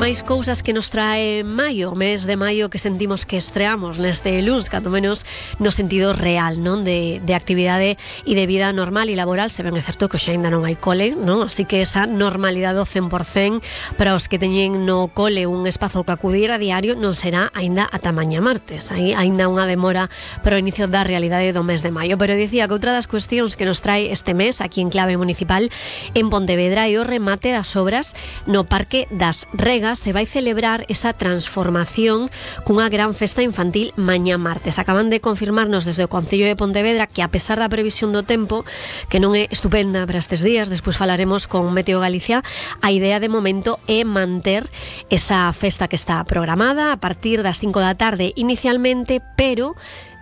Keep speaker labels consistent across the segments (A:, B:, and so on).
A: Máis cousas que nos trae maio, mes de maio que sentimos que estreamos neste luns, cando menos no sentido real, non? De actividade e de vida normal e laboral. Se ben é certo que xa ainda non hai cole, non? Así que esa normalidade ao 100% para os que teñen no cole un espazo que acudir a diario non será ainda ata mañá martes. Aí ainda unha demora para o inicio da realidade do mes de maio. Pero dicía que outra das cuestións que nos trae este mes aquí en clave municipal en Pontevedra é o remate das obras no Parque das Regas. Se vai celebrar esa transformación cunha gran festa infantil mañá martes. Acaban de confirmarnos desde o Concello de Pontevedra que, a pesar da previsión do tempo, que non é estupenda para estes días, despois falaremos con Meteo Galicia, a idea de momento é manter esa festa que está programada a partir das 5 da tarde inicialmente, pero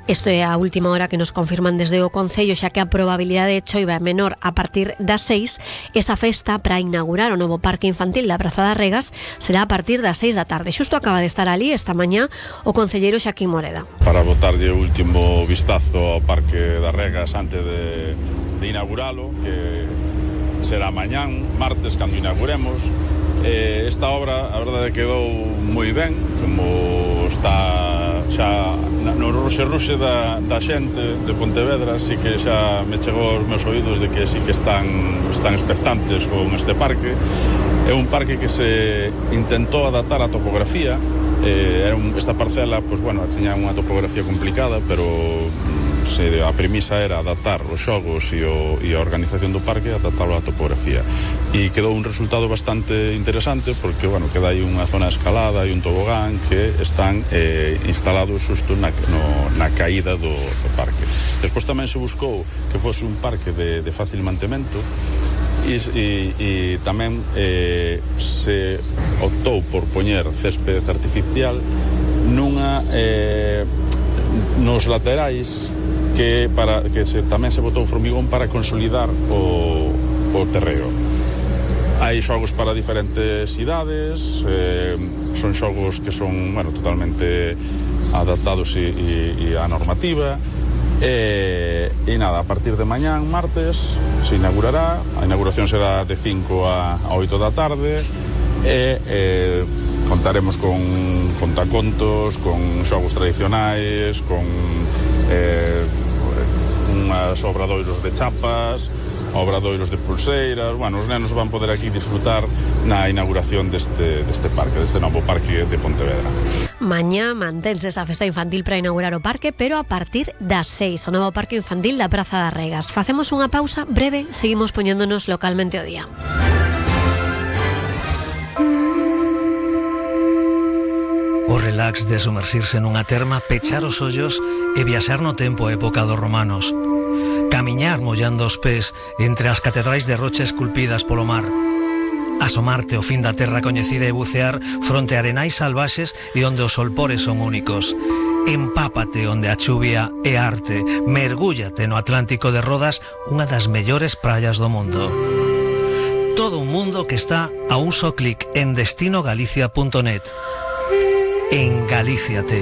A: isto é a última hora que nos confirman desde o Concello, xa que a probabilidade de choiva é menor a partir das 6. Esa festa para inaugurar o novo Parque Infantil da Praza das Regas será a partir das 6 da tarde. Xusto acaba de estar ali esta mañá o concelleiro Xaquín Moreda.
B: Para botarlle o último vistazo ao Parque das Regas antes de inauguralo, que será mañán, martes, cando inauguremos. Esta obra, a verdade, quedou moi ben, como está xa no ruxe da xente de Pontevedra. Así que xa me chegou aos meus oídos de que sí que están expectantes con este parque. É un parque que se intentou adaptar á topografía. Esta parcela, pues bueno, tiña unha topografía complicada, pero a premisa era adaptar os xogos e a organización do parque, adaptarlo á topografía, e quedou un resultado bastante interesante, porque, bueno, queda aí unha zona escalada e un tobogán que están instalados xusto na caída do parque. Despois tamén se buscou que fose un parque de fácil mantemento, e tamén se optou por poñer césped artificial nos laterais, que tamén se botou formigón para consolidar o terreo. Hai xogos para diferentes idades, son xogos que son, bueno, totalmente adaptados e a normativa. E nada, a partir de mañán, martes, se inaugurará. A inauguración será de 5 a 8 da tarde. Contaremos con contacontos, con xogos tradicionais, con unhas obradoiros de chapas, obradoiros de pulseiras. Bueno, os nenos van poder aquí disfrutar na inauguración deste parque, deste novo parque de Pontevedra.
A: Mañá mantense esa festa infantil para inaugurar o parque, pero a partir das 6, o novo parque infantil da Praza das Regas. Facemos unha pausa breve, seguimos poñéndonos localmente o día.
C: O relax de sumersirse nunha terma, pechar os ollos e viaxar no tempo a época dos romanos. Camiñar mollando os pés entre as catedrais de rocha esculpidas polo mar. Asomarte ao fin da terra coñecida e bucear fronte a arenais salvaxes e onde os solpores son únicos. Empápate onde a chuvia é arte. Mergúllate no Atlántico de Rodas, unha das mellores praias do mundo. Todo un mundo que está a un só clic en destinogalicia.net. En Galíciate.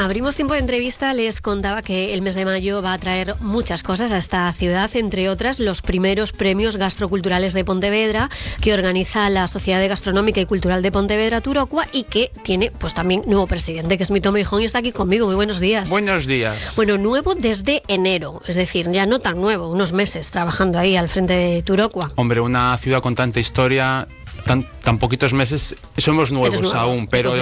A: Abrimos tiempo de entrevista, les contaba que el mes de mayo va a traer muchas cosas a esta ciudad, entre otras los primeros premios gastroculturales de Pontevedra que organiza la Sociedad Gastronómica y Cultural de Pontevedra, Turocua, y que tiene pues también nuevo presidente, que es Mito Meijón, y está aquí conmigo. Muy buenos días.
D: Buenos días.
A: Bueno, nuevo desde enero, es decir, ya no tan nuevo, unos meses trabajando ahí al frente de Turocua.
D: Hombre, una ciudad con tanta historia, tan poquitos meses, somos nuevos aún, pero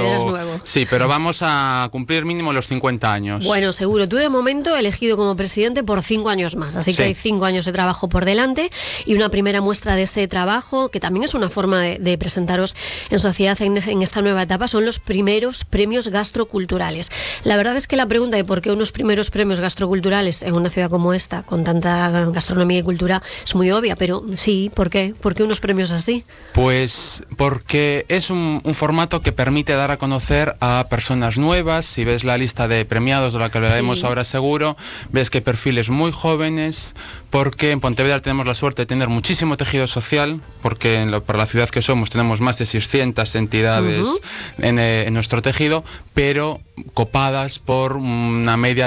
D: sí, pero vamos a cumplir mínimo los 50 años.
A: Bueno, seguro. Tú de momento elegido como presidente por 5 años más, así que hay 5 años de trabajo por delante, y una primera muestra de ese trabajo, que también es una forma de presentaros en sociedad en esta nueva etapa, son los primeros premios gastroculturales. La verdad es que la pregunta de por qué unos primeros premios gastroculturales en una ciudad como esta, con tanta gastronomía y cultura, es muy obvia, pero sí, ¿por qué? ¿Por qué unos premios así?
D: Pues porque es un formato que permite dar a conocer a personas nuevas. Si ves la lista de premiados, de la que hablaremos ahora seguro, ves que hay perfiles muy jóvenes, porque en Pontevedra tenemos la suerte de tener muchísimo tejido social, porque para la ciudad que somos tenemos más de 600 entidades en nuestro tejido, pero copadas por una media